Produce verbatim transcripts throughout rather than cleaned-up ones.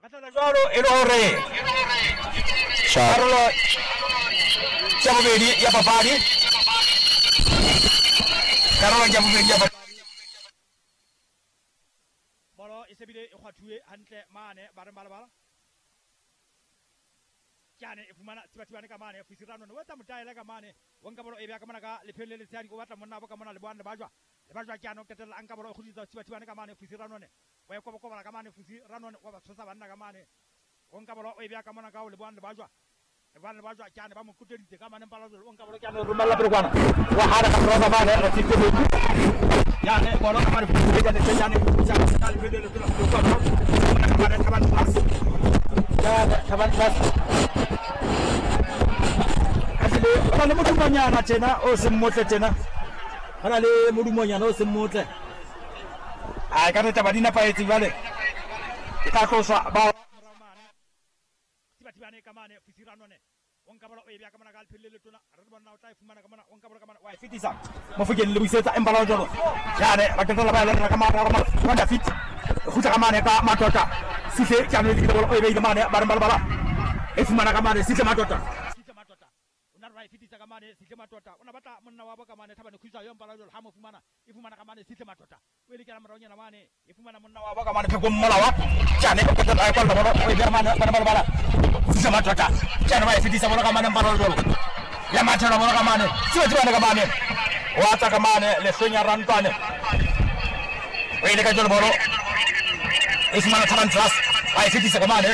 Jwalo e le hore karolo ya bobedi ya papadi, karolo ya bobedi ya papadi. Bolo e sebile e kgwathuwe hantle mane ba reng balabala. Kyane e fumana Thibathibane ka mane Fusi Ranone o etsa motaele ka mane o nka bolo e beha ka mona ka lepheng le letshehadi o batla monna bo ka mona Lebohang Lebajwa. Lebajwa kyane o qetella a nka bolo e kgutlisetsa Thibathibane ka mane Fusi Ranone. O e kobokobola ka mane Fusi Ranone wa ba tshosa banna ka mane. O nka bolo o e beha ka mona ka o Lebohang Lebajwa. Lebohang Lebajwa kyane ba mo kuteditse ka mane mpala jwalo o nka bolo kyane o romella pele kwana. Wa hara ka morao ka mane re tsitse metsi. Yane bolo ka mane Fusi kyane kyane ka lepheng le letona kwana. Ka mane Thabang Plus. Yane Thabang Plus. Ho na le modumonyana tjena o seng motle tjena. Ho na le modumonyana o seng motle. Ai ka re taba di nepahetse jwale. E tla tloswa ba morao mane. Thibathibane ka mane Fusi Ranone. O nka bolo o e beha ka mona ka lepheng le letona. Re bona o tla e fumana ka mona o nka bolo ka mona wa e fetisa. Mofokeng le buisetsa empa la jwalo. Jane ba qetella ba e lera ka mane ka mane fit. Kgutla ka mane ka Matota. Sihle kyane le bolo o e beile mane ba re balabala. E fumana ka mane Sihle Matota. Sihle Matota. O na re fetisa ka mane Sihle Matota. O na batla monna wa bo ka mane Thabane Khutsa yo mpala jwalo ha mo fumana. E fumana ka mane Sihle Matota. O e lekela moraonyana mane e fumana monna wa bo ka mane Pheko Mmolawa. Kyane o qetella a e kwalla bolo o e beha mane bana balabala. Sihle Matota. Kyane ba e fetisa bolo ka mane mpala jwalo. Ya mathela bolo ka mane. Thibathibane ka mane. Wa tla ka mane Lehlonya Rantwane. O e leka jwalo bolo. E fumana Thabang Plus. Ba e fetisa ka mane.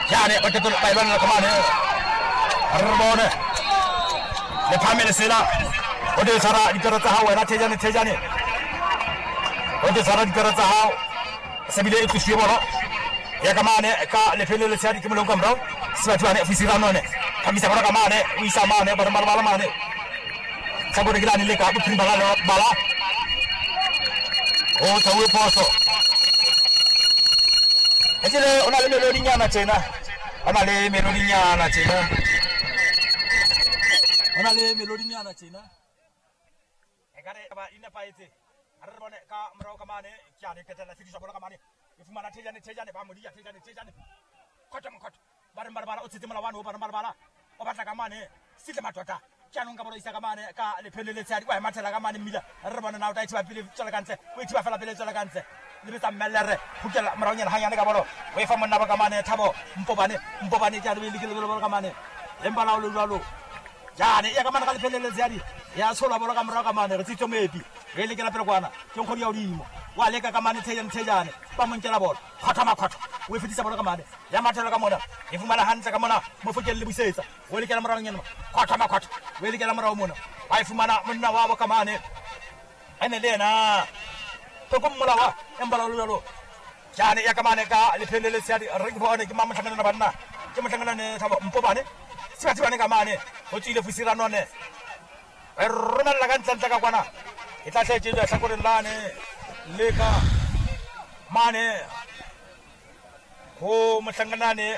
Kyane ba qetella ba e lwanela ka mane. Re bone le phame lesela o te tshwara dipere tsa hao wena Thejane Thejane o te tshwara dipere tsa hao sebile e tlosiwe bolo ya ka mane ka lepheng le letshehadi ke molong ka morao Sebathibane Fusi Ranone phamisa bolo ka mane o isa mane ba re malabala mane tlhakore ke lane le ka bophirima la bala o tshauwe phoso etlile o na le melodinyana tjena o na le melodinyana tjena o na le melodinyana tjena e ka re ba inepahetse a re bone ka morao ka mane kyane qetella fetisa bolo ka mane e fumana Thejane Thejane ba mo dia Thejane Thejane khotho mokhotho ba re balabala o tshetse molawane o ba re balabala o batla ka mane Sihle Matota kyane nka bolo isa ka mane ka lepheng le letshehadi wa e mathela ka mane mmila re bone na o tla e thiba pele tswela ka ntle o e thiba fela pele tswela ka ntle le betsa mmellere kgutlela moraonyana hanyane ka bolo o e fa monna ba ka mane Thabo Mpobane Mpobane kyane o e lekile bolo ka mane empa la o le jwalo jane ya ka mane ka lepheng le letshehadi ya tsholwa bolo ka morao ka mane re tsitso moepi re lekela pele kwana ke nkgodi ya hodimo wa leka ka mane Thejane Thejane ba mo nkela bolo kgotha makhotho o e fetisa bolo ka mane ya mathela ka mona e fumana hantle ka mona Mofokeng le buisetsa o lekela moraonyana kgotha makhotho o e lekela morao mona ba e fumana monna wa bo ka mane ene le yena Pheko Mmolawa empa la jwalo jane ya ka mane ka lepheng le letshehadi re ke bone ke mang mohlankana banna ke mohlankana Thabo Mpobane Thibathibane ka mane ho tswile Fusi Ranone re romella ka ntlentle ka kwana e tla hletse lehlakoreng lane le ka mane ho mohlankanane